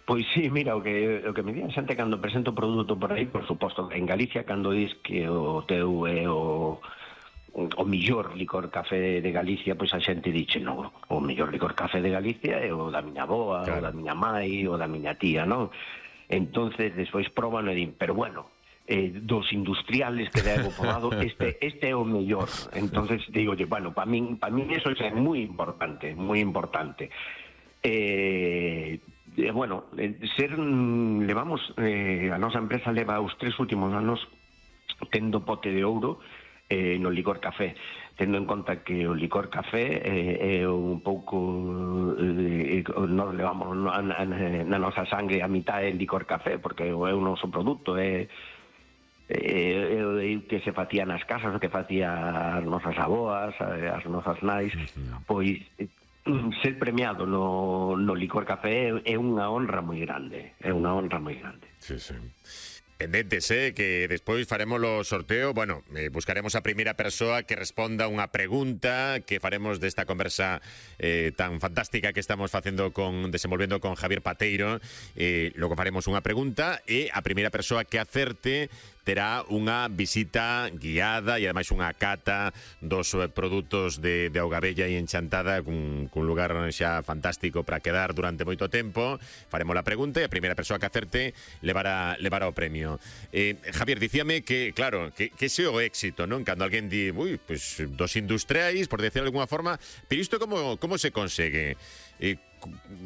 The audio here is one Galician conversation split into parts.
Pois sí, mira, o que me di a xente cando presento o produto por aí, por suposto, en Galicia, cando dis que o teu é o millor licor café de Galicia, pois a xente dixe, non, o millor licor café de Galicia é o da miña avoa, o Claro. da miña mai, o da miña tía, non? Entonces, despois proban e din, pero bueno, dos industriales que levo probado, este é o mellor. Entonces, digo, bueno, para min eso é moi importante, moi importante. Bueno, levamos, a nosa empresa leva os 3 últimos anos tendo pote de ouro no licor café, tendo en conta que o licor café é un pouco nós levamos na nosa sangre a mitad é licor café, porque é o noso produto, é que se facía nas casas, o que facía as nosas aboas, as nosas nais, pois ser premiado no licor café é unha honra moi grande, Sí, sí. Pendentes, que despois faremos o sorteo. Bueno, buscaremos a primeira persoa que responda unha pregunta que faremos desta conversa tan fantástica que estamos desenvolvendo con Javier Pateiro. Logo faremos unha pregunta e a primeira persoa que acerte terá unha visita guiada e ademais unha cata dos produtos de Augabella e Enchantada, cun lugar xa fantástico para quedar durante moito tempo. Faremos a pregunta e a primeira persoa que acerte levará o premio. Javier, dicíame que, claro, que ese é o éxito, non? Cando alguén di, pues dos industriais, por decirlo de alguna forma, pero isto como se consegue?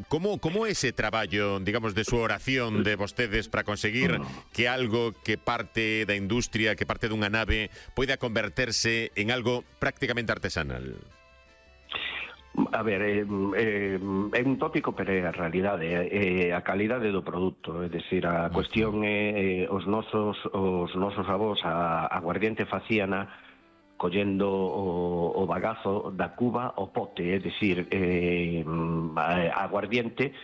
Como ese traballo, digamos, de súa oración de vostedes para conseguir que algo que parte da industria, que parte dunha nave, poida converterse en algo prácticamente artesanal? A ver, é un tópico, pero é a realidade, a calidade do produto, é dicir, a cuestión é os nosos avós a aguardiente facíana collendo o bagazo da cuba ao pote, é dicir, a aguardiente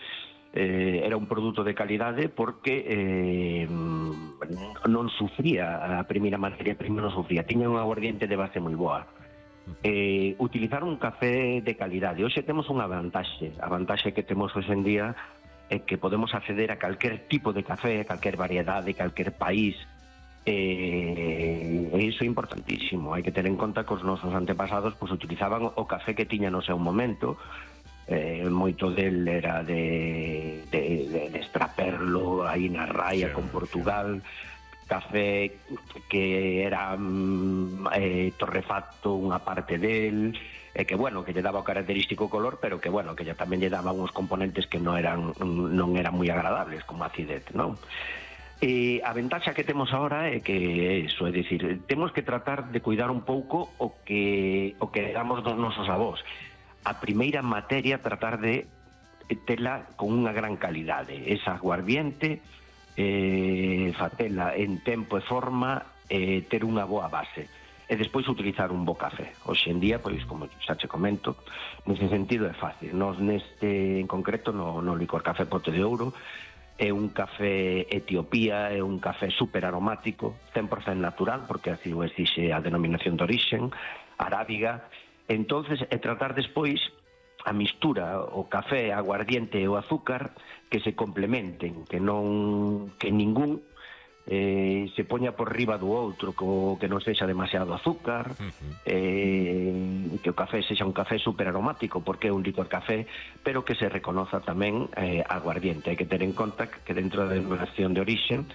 era un produto de calidade porque non sufría, a primeira materia prima non sufría, tiña unha aguardiente de base moi boa. Utilizar un café de calidade. Hoxe temos unha vantaxe, a vantaxe que temos hoxe en día é que podemos acceder a calquer tipo de café, a calquer variedade, calquer país. Iso é importantísimo. Hai que ter en conta que os nosos antepasados pues, utilizaban o café que tiña no seu momento. Moito del era de extraperlo aí na raia con Portugal, café que era torrefacto unha parte del, que bueno, que lle daba o característico color, pero que bueno, que tamén lle daba uns componentes que non eran moi agradables, como a acidez, non? A ventaxa que temos ahora é que eso, é dicir, temos que tratar de cuidar un pouco o que damos dos nosos avós. A primeira materia, tratar de tela con unha gran calidade. Esa aguardiente, fatela en tempo e forma, ter unha boa base. E despois utilizar un bo café. Hoxe en día, pois, como xa che comento, nese sentido é fácil. Nos neste, en concreto, no licor café Pote de Ouro, é un café Etiopía, é un café super aromático, 100% natural, porque así o exixe a denominación de orixen, arábiga. Entonces, é tratar despois a mistura, o café, a aguardiente e o azúcar, que se complementen, que ningún se poña por riba do outro, que non sexa demasiado azúcar, que o café sexa un café super aromático, porque é un licor café, pero que se reconoza tamén aguardiente. Hai que ter en conta que dentro da denominación de orixen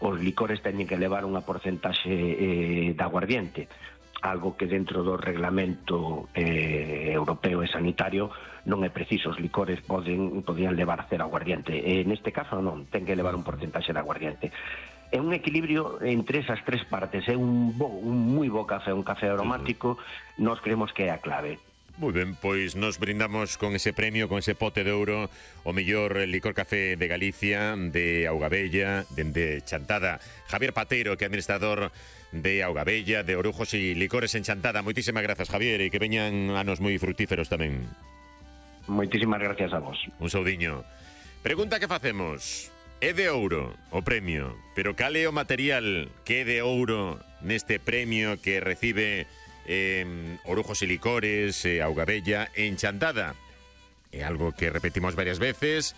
os licores teñen que levar unha porcentaxe de aguardiente, algo que dentro do reglamento europeo e sanitario non é preciso. Os licores podían levar cero aguardiente, e neste caso non, ten que levar un porcentaxe de aguardiente. É un equilibrio entre esas tres partes, é un moi bo café, un café aromático, nós creemos que é a clave. Moi ben, pois nos brindamos con ese premio, con ese Pote de Ouro, o mellor licor café de Galicia, de Augabella, de Enchantada. Javier Pateiro, que é administrador de Augabella, de Orujos e Licores Enchantada. Moitísimas grazas, Javier, e que veñan anos moi fructíferos tamén. Moitísimas gracias a vos. Un saudiño. Pregunta que facemos. É de ouro o premio, pero cal é o material que é de ouro neste premio que recibe Orujos e Licores, Augabella e Enchantada? É algo que repetimos varias veces,